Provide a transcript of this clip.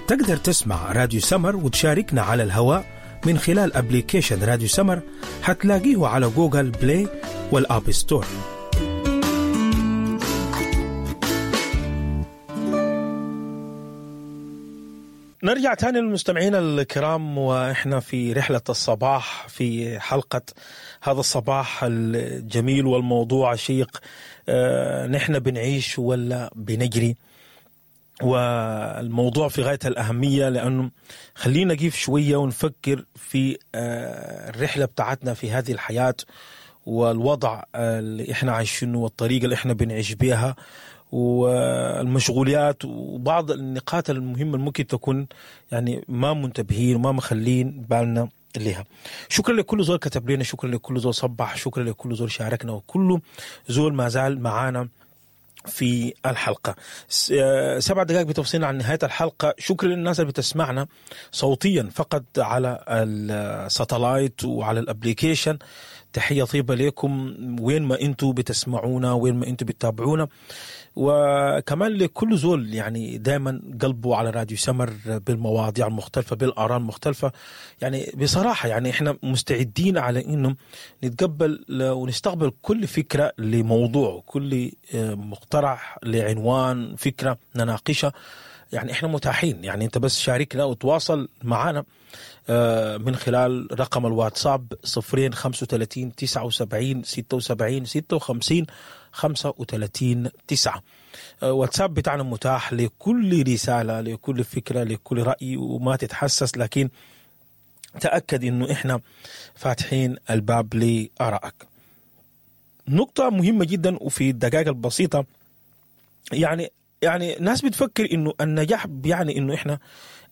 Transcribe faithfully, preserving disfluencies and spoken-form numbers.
تقدر تسمع راديو سمر وتشاركنا على الهواء من خلال application راديو سمر، هتلاقيه على Google Play وال App Store. نرجع تاني للمستمعين الكرام، واحنا في رحلة الصباح في حلقة هذا الصباح الجميل والموضوع الشيق، آه، نحن بنعيش ولا بنجري؟ والموضوع في غاية الأهمية، لأنه خلينا نقف شوية ونفكر في آه، الرحلة بتاعتنا في هذه الحياة والوضع اللي احنا عايشينه والطريقة اللي احنا بنعيش بيها والمشغوليات وبعض النقاط المهمة اللي ممكن تكون يعني ما منتبهين وما مخلين بالنا لها. شكرا لكل زول كتب لنا، شكرا لكل زول صبح، شكرا لكل زول شاركنا، وكل زول ما زال معانا في الحلقة. سبع دقائق بتفصلنا عن نهاية الحلقة. شكرا للناس اللي بتسمعنا صوتيا فقط على ال satellite وعلى ال application. تحية طيبة لكم وين ما انتوا بتسمعونا، وين ما انتوا بتتابعونا، وكمان لكل زول يعني دائما قلبه على راديو سمر بالمواضيع المختلفة بالآراء المختلفة. يعني بصراحة يعني احنا مستعدين على انه نتقبل ونستقبل كل فكرة لموضوع، كل مقترح لعنوان فكرة نناقشها، يعني احنا متاحين. يعني انت بس شاركنا وتواصل معنا من خلال رقم الواتساب صفرين خمسة وثلاثين تسعة وسبعين ستة وسبعين ستة وخمسين خمسة وثلاثين تسعة. واتساب بتاعنا متاح لكل رسالة، لكل فكرة، لكل رأي، وما تتحسس، لكن تأكد انه احنا فاتحين الباب لآرائك. نقطة مهمة جدا وفي الدقائق البسيطة، يعني يعني ناس بتفكر انه النجاح بيعني انه احنا